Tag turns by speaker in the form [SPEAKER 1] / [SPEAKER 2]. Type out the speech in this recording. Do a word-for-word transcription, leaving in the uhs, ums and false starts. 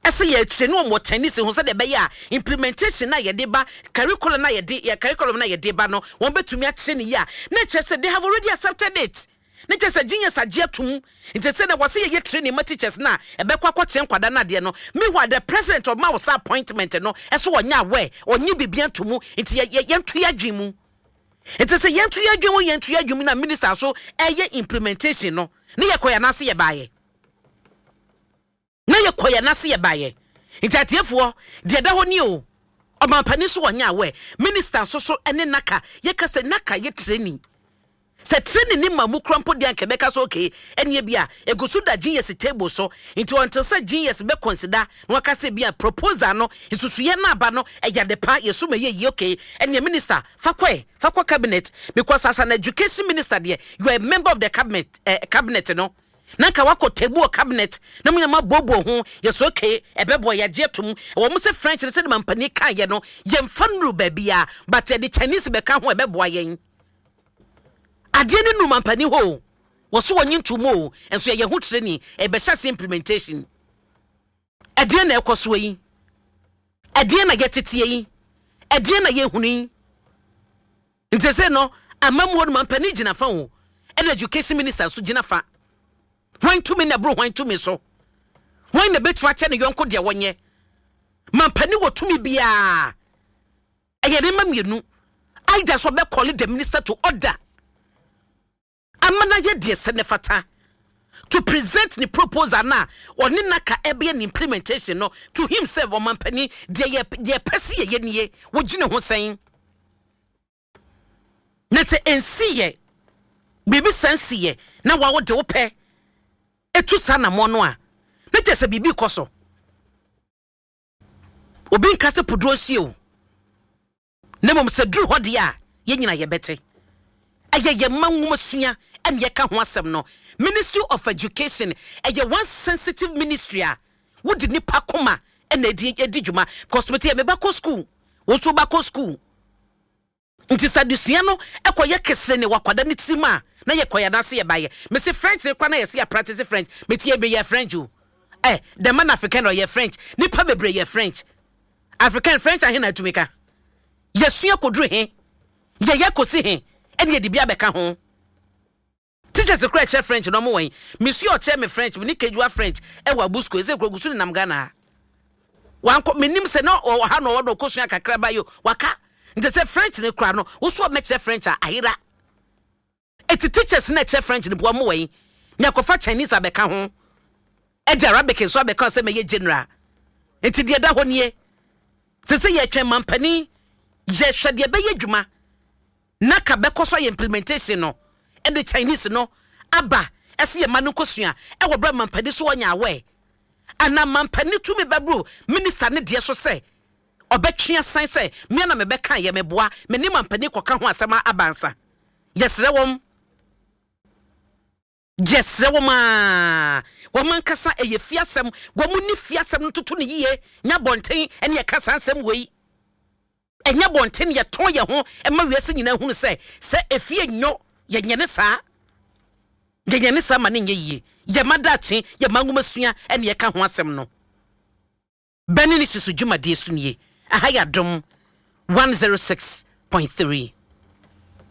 [SPEAKER 1] Ɛsɛ yɛ akyire ne wɔn wɔ Chinese ho sɛdeɛ ɛbɛyɛ a implementation na yɛde ba, curriculum na yɛde yɛ curriculum na yɛde ba no, wɔn bɛtumi akyerɛ ne yie a, na kyerɛ sɛ they have already accepted it, ne kyerɛ sɛ genius agye atum. Nti sɛ na wɔsɛ yɛyɛ training ma teachers na ɛbɛkɔ akɔkyerɛ nkwadaa no adeɛ no. Meanwhile, the president ɔma wɔ sa appointment no, ɛso ɔnyɛ aware, ɔnye biribi ato mu. Nti yɛ yɛ yɛnto yɛ adwene mu. Nti sɛ yɛnto yɛ adwene mu, yɛnto yɛ adwene mu na minister so ɛyɛ implementation no, ne yɛkɔ yɛn ase yɛ baayɛ, na yɛkɔ yɛn ase yɛ baayɛ. Nti atiefoɔ, deɛ ɛda hɔ ni o, ɔmampanin so wɔnyɛ aware, minister nso so ɛne naka yɛka sɛ naka yɛ training, sɛ training ne ma mu kura mpo deɛ, nka bɛka so okay, ɛneɛ bi a egu so da G E S table so. Nti until sɛ G E S bɛ consider na waka sɛ bi a proposal no, nsusuyɛ no aba no, ɛyɛ ade pa, yɛso ma yɛ yie, okay, ɛneɛ minister fa kɔɛ, fa kɔ cabinet, because as an education minister deɛ, you are a member of the cabinet eh, cabinet no, na nka wakɔ table wɔ cabinet na mo nyama booboo ho yɛsɛ okay, ɛbɛboa, yɛagye atom. Ɛwɔ mo sɛ French no, sɛde mampanin kaeɛ no, yɛmfa nnuru baabi a, but yɛde Chinese bɛka ho, ɛbɛboa yɛn. Adeɛ no nu mampanin hɔ o, wɔso wɔnye ntom o, nso yɛyɛ ho training, ɛbɛhyɛ ase implementation. Ɛdeɛ na ɛkɔ soɔ yi, ɛdeɛ na yɛteteɛ yi, ɛdeɛ na yɛhunu yi. Nti sɛ no amamuo no, mampanin gyina fa o, ɛna education minister nso gyina fa. Hwan tumi na ɛboro hwan tumi so? Hwan na bɛtumi akyɛ ne yɔnko deɛ wɔnyɛ? Mampanin wɔ tumi biara, ɛyɛ ne ma mmienu, either sɛ ɔbɛ call the minister to order ama na yɛ deɛ sɛ ne fata to present ne proposal na ɔne naka ɛbɛyɛ ne implementation no to him sɛ ɔmampanin, deɛ yɛ deɛ pɛ si yɛyɛ nie, wogyina ho sɛn? Na sɛ nsi yɛ biribi san si yɛ na wawo de wo pɛ etu saa namɔ no a, ne kyerɛ sɛ biribi kɔ so. Obi nka sɛ puduro nsi o, na mmom sɛ duru hɔ deɛ a, yɛn nyina yɛbɛte. Ɛyɛ yɛn mma nwoma sua ɛna yɛka ho asɛm no. Ministry of Education ɛyɛ one sensitive ministry a wodi nipa koma ɛna edi edi dwuma, because mete yɛ meba kɔ school, wɔn nso ba kɔ school. Nti sɛ adesua no ɛkɔyɛ kesere ne wakwada ne tirim a, na yɛkɔ yɛn ase yɛ bayɛ. Mesi French ne kora na yɛsi yɛ practice French. Mete yɛ yɛ French o, ɛ the man African ɔyɛ French, nipa bebree yɛ French, African French ahe na atumi ka yɛsua koduru he, yɛyɛ kɔsi he, ɛne yɛde bi abɛka ho. Teachers kora ɛkyerɛ French na ɔmo wɔn mesua ɔkyerɛ me French, me ne kejuwa French ɛwɔ Abusco, ɛsɛ kuro gusu nenam Ghana ha, wankɔ menim sɛ na ɔwɔ ha na ɔwɔ no ɔkɔsua kakra ba yi waka. Nti sɛ French ne kora no, woso ɔmɛkyerɛ French a ayera. Eti teachers na ɛkyerɛ French no boa mo wɔn ne akɔfa Chinese abɛka ho, ɛde Arabic nso abɛka sɛ mɛyɛ general. Nti deɛ ɛda hɔ nie, sɛ sɛ yɛtwɛn mampanin, yɛhwɛ deɛ ɛbɛyɛ adwuma na ka bɛkɔ so ayɛ implementation no, ɛde Chinese no aba, ɛsɛ yɛ ma no nkosua ɛwɔ berɛ mampanin so wɔnya awɛ, anaa mampanin tumi bɛboro minister ne deɛ so sɛ ɔbɛtwe asan sɛ mmea na mebɛka yɛ meboa me ne mampanin kɔka ho asɛm aba nsa. Yɛsrɛ wɔn, yɛsrɛ wɔn a wɔn ankasa ɛyɛ fiasɛm, wɔn ni fiasɛm no toto ne yie nya bɔnten ɛne yɛka saa nsɛm wei. Ɛnyɛ bɔnten yɛtɔn yɛn ho ɛma wiase nyinaa hunu sɛ sɛ efie nyɔ yɛnyɛ ne saa, yɛnyɛ ne saa ma ne nyɛ yie. Yɛma daakye, yɛma nwoma sua ɛne yɛka ho asɛm no. Bɛne ne susu dwumadie so nie. Aha yɛ Adom one zero six point three.